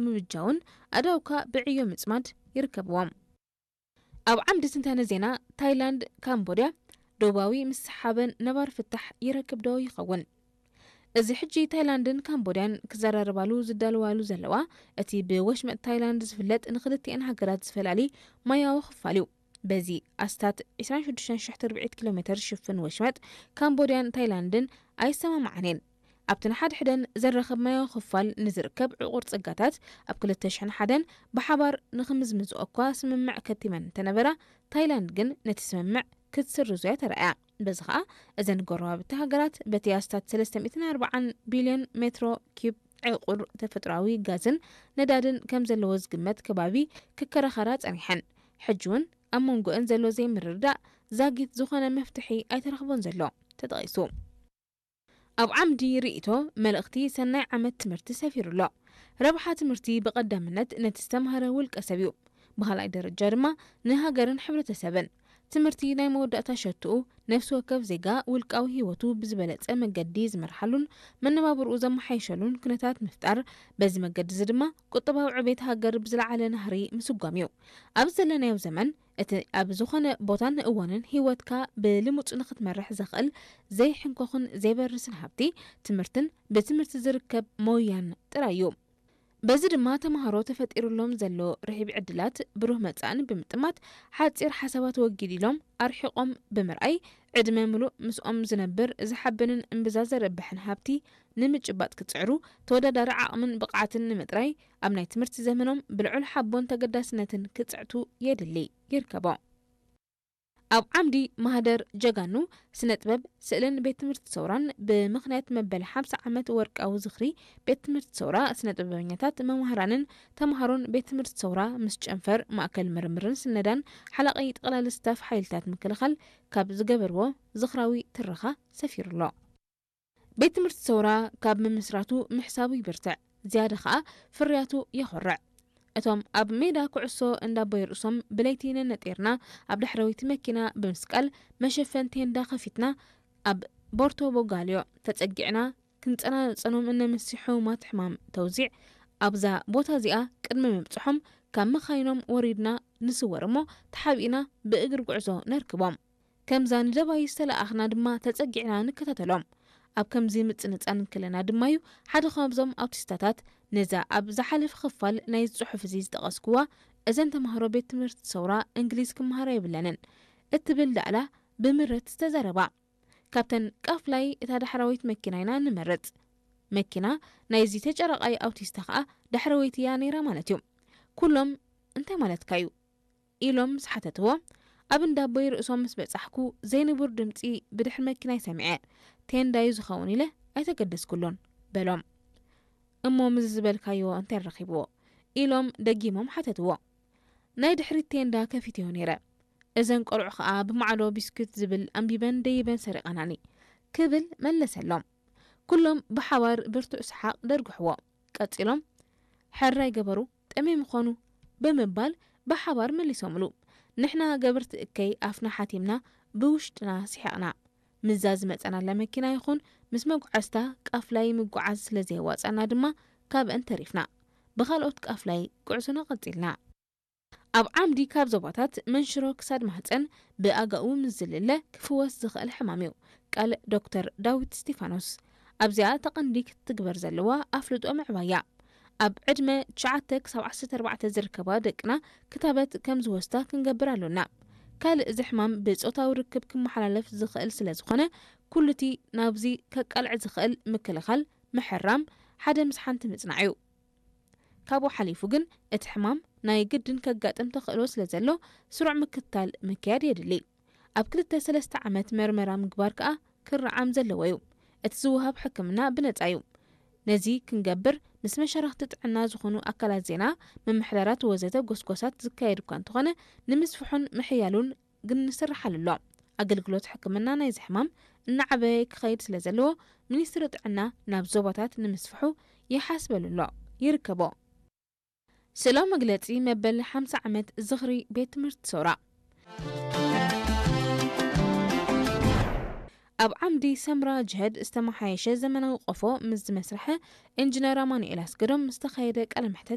ምብጃውን ኣእዳውካ ብዕዮ ምጽማድ ይርከብዎም። ኣብ ዓምዲ ትንታነ ዜና፣ ታይላንድ፣ ካምቦድያ ዶባዊ ምስሓበን ነባሪ ፍታሕ ይረክብ ዶ ይኸውን? እዚ ሕጂ ታይላንድን ካምቦድያን ክዘራረባሉ ዝዳለዋሉ ዘለዋ፣ እቲ ብወሽመጥ ታይላንድ ዝፍለጥ ንክልቲአን ሃገራት ዝፈላሊ ማያዊ ክፋል እዩ። በዚ ኣስታት ዕስራን ሽዱሽተን ሽሕ ትርብዒት ኪሎ ሜተር ዝሽፍን ወሽመጥ ካምቦድያን ታይላንድን ኣይሰማማዓን እየን። ኣብቲ ንሓድሕደን ዘራኽብ ማያዊ ክፋል ንዝርከብ ዕቑር ጸጋታት ኣብ ክልተ ሽሕን ሓደን ብሓባር ንክምዝምዝኦ እኳ ስምምዕ ከቲመን እንተነበራ፣ ታይላንድ ግን ነቲ ስምምዕ ክትስርዞ እያ ተራእያ። በዚ ኸኣ እዘን ጎረባብቲ ሃገራት በቲ ኣስታት ሰለስተ ሚእትን ኣርባዓን ቢልዮን ሜትሮ ኪዩብ ዕቑር ተፈጥሮኣዊ ጋዝን ነዳድን ከም ዘለዎ ዝግመት ከባቢ ክከራኸራ ጸኒሐን፣ ሕጂ እውን ኣብ መንጎአን ዘሎ ዘይምርድዳእ ዛጊት ዝኾነ መፍትሒ ኣይተረኽቦን ዘሎ ተጠቒሱ። ኣብ ዓምዲ ርእይቶ፣ መልእኽቲ ሰናይ ዓመት ትምህርቲ ሰፊሩ ኣሎ። ረብሓ ትምህርቲ ብቐዳምነት ነቲ ዝተምሃረ ውልቀ ሰብ እዩ። ብኻልኣይ ደረጃ ድማ ንሃገርን ሕብረተሰብን። ትምህርቲ ናይ መወዳእታ ሸትኡ፣ ነፍሲ ወከፍ ዜጋ ውልቃዊ ህይወቱ ብዝበለጸ መገዲ ዝመርሓሉን መነባብርኡ ዘመሓይሸሉን ኩነታት ምፍጣር፣ በዚ መገዲ እዚ ድማ ቁጠባዊ ዕቤት ሃገር ብዝለዓለ ናህሪ ምስጓም እዩ። ኣብ ዘለናዮ ዘመን፣ እቲ ኣብ ዝኾነ ቦታን እዋንን ህይወትካ ብልሙጽ ንኽትመርሕ ዘኽእል ዘይሕንኮኽን ዘይበርስን ሃብቲ፣ ትምህርትን ብትምህርቲ ዝርከብ ሞያን ጥራይ እዩ። በዚ ድማ ተምሃሮ ተፈጢሩሎም ዘሎ ርሒብ ዕድላት ብሩህ መጻእን ብምጥማት፣ ሓጺር ሓሳባት ወጊድ ኢሎም ኣርሒቖም ብምርኣይ፣ ዕድመ ምሉእ ምስኦም ዝነብር ዝሓብንን እምብዛ ዘርብሕን ሃብቲ ንምጭባጥ ክጽዕሩ፣ ተወዳዳሪ ዓቕምን ብቕዓትን ንምጥራይ፣ ኣብ ናይ ትምህርቲ ዘመኖም ብልዑል ሓቦን ተገዳስነትን ክጽዕቱ የድሊ ይርከቦ። ኣብ ዓምዲ ማህደር ጀጋኑ ስነ ጥበብ፣ ስእልን ቤት ትምህርቲ ሰውራን፣ ብምኽንያት መበል ሓምሳ ዓመት ወርቃዊ ዝኽሪ ቤት ትምህርቲ ሰውራ፣ ስነ ጥበበኛታት፣ መማህራንን ተምሃሮን ቤት ትምህርቲ ሰውራ ምስ ጨንፈር ማእከል ምርምርን ስነዳን ሓላቒ ጠቕላሊ ስታፍ ሓይልታት ምክልኻል ካብ ዝገበርዎ ዝኽራዊ ትረኻ ሰፊሩ ኣሎ። ቤት ትምህርቲ ሰውራ ካብ ምምስራቱ ምሕሳቡ ይብርትዕ፣ ዝያዳ ኸኣ ፍርያቱ የኹርዕ። እቶም ኣብ ሜዳ ኩዕሶ እንዳቦይ ርእሶም ብለይቲ ነነጢርና ኣብ ዳሕረወይቲ መኪና ብምስቃል መሸፈን ቴንዳ ከፊትና ኣብ ቦርቶ ቦጋልዮ ተጸጊዕና ክንጸናጸኖም እነምሲ ሕሙማት ሕማም ተውዚዕ ኣብዛ ቦታ እዚኣ ቅድሚ ምብጽሖም ካብ መኻይኖም ወሪድና ንስወር እሞ ተሓቢእና ብእግሪ ጉዕዞ ነርክቦም። ከምዛ ንደባይ ዝተለኣኽና ድማ ተጸጊዕና ንከታተሎም። ኣብ ከምዚ ምጽንጻን እንከለና ድማ'ዩ ሓደ ካብዞም ኣውቲስታታት ነዛ ኣብ ዝሓለፈ ክፋል ናይዚ ጽሑፍ እዚ ዝጠቐስኩዋ፣ "እዘን ተማሃሮ ቤት ትምህርቲ ሰውራ እንግሊዝ ክመሃራ የብለንን" እትብል ዳእላ ብምረት ዝተዛረባ። ካብተን ቃፍላይ እታ ዳሕራወይት መኪና ኢና ንመርጽ። መኪና ናይዚ ተጨራቓይ ኣውቲስታ ኸኣ ዳሕረወይቲ እያ ነይራ ማለት እዩ። ኩሎም "እንታይ ማለትካ እዩ?" ኢሎም ምስ ሓተትዎ፣ ኣብ እንዳቦይ ርእሶም ምስ በጻሕኩ ዘይንቡር ድምጺ ብድሕሪ መኪናይ ሰሚዐ። "ቴንዳዩ ዝኸውን" ኢለ ኣይተገደስኩሉን በሎም። "እሞ ምስዚ ዝበልካዮ እንታይ ረኺብዎ?" ኢሎም ደጊሞም ሓተትዎ። "ናይ ድሕሪት ቴንዳ ከፊተዮ ነይረ። እዘን ቆልዑ ኸኣ ብማዕዶ ቢስኩት ዝብል ኣንቢበን ደይበን ሰሪቐናኒ" ክብል መለሰሎም። ኩሎም ብሓባር ብርቱዕ ሰሓቕ ደርግሕዎ። ቀጺሎም፣ "ሕራይ ገበሩ፣ ጠምዮም ይኾኑ" ብምባል ብሓባር መሊሶምሉ። ንሕና ገበርቲ እከይ ኣፍና ሓቲምና ብውሽጥና ስሒቕና። ምስዛ ዝመጸናላ መኪና ይኹን ምስ መጓዓዝታ ቃፍላይ ምጉዓዝ ስለ ዘየዋጽኣና ድማ ካብአን ተሪፍና። ብኻልኦት ቃፍላይ ጉዕዞና ቀጺልና። ኣብ ዓምዲ ካብ ዞባታት መንሽሮ ክሳድ ማህጸን ብኣጋኡ ምስ ዝልለ ክፍወስ ዝኽእል ሕማም እዩ። ቃል ዶክተር ዳዊት እስቲፋኖስ። ኣብዚኣ ተቐንዲ ክትግበር ዘለዋ ኣፍልጦ ምዕባያ። ኣብ ዕድመ ትሽዓተ ክሳብ ዓሰርተ ኣርባዕተ ዝርከባ ደቅና ክታበት ከም ዝወስዳ ክንገብር ኣሎና። ካልእ እዚ ሕማም ብጾታዊ ርክብ ክመሓላለፍ ዝኽእል ስለ ዝኾነ፣ ኩሉቲ ናብዚ ከቃልዕ ዝኽእል ምክልኻል፣ ምሕራም፣ ሓደ ምስ ሓንቲ ምጽናዕ እዩ። ካብኡ ሓሊፉ ግን እቲ ሕማም ናይ ግድን ከጋጥም ተኽእሎ ስለ ዘሎ፣ ስሩዕ ምክትታል ምክያድ የድሊ። ኣብ ክልተ ሰለስተ ዓመት መርመራ ምግባር ከኣ ክረዓም ዘለዎ እዩ። እቲ ዝወሃብ ሕክምና ብነጻ እዩ። ነዚ ክንገብር ምስ መሻርኽቲ ጥዕና ዝኾኑ ኣካላት ዜና፣ ምምሕዳራት ወዘተ ጎስጓሳት ዝካየድ እኳ እንተኾነ፣ ንምስፍሑን ምሕያሉን ግን ንስርሓሉ ኣሎ። ኣገልግሎት ሕክምና ናይዚ ሕማም እናዓበየ ክኸይድ ስለ ዘለዎ፣ ሚኒስትሪ ጥዕና ናብ ዞባታት ንምስፍሑ ይሓስበሉ ኣሎ፣ ይርከቦ። ስእላዊ መግለጺ መበል ሓምሳ ዓመት ዝኽሪ ቤት ትምህርቲ ሰውራ። ኣብ ዓምዲ ሰምራ ጅሀድ ዝተመሓየሸ ዘመናዊ ቆፎ ምስ ዝመስርሐ ኢንጂነር ኣማኑኤል ኣስገዶም ዝተኻየደ ቃለ መሕተት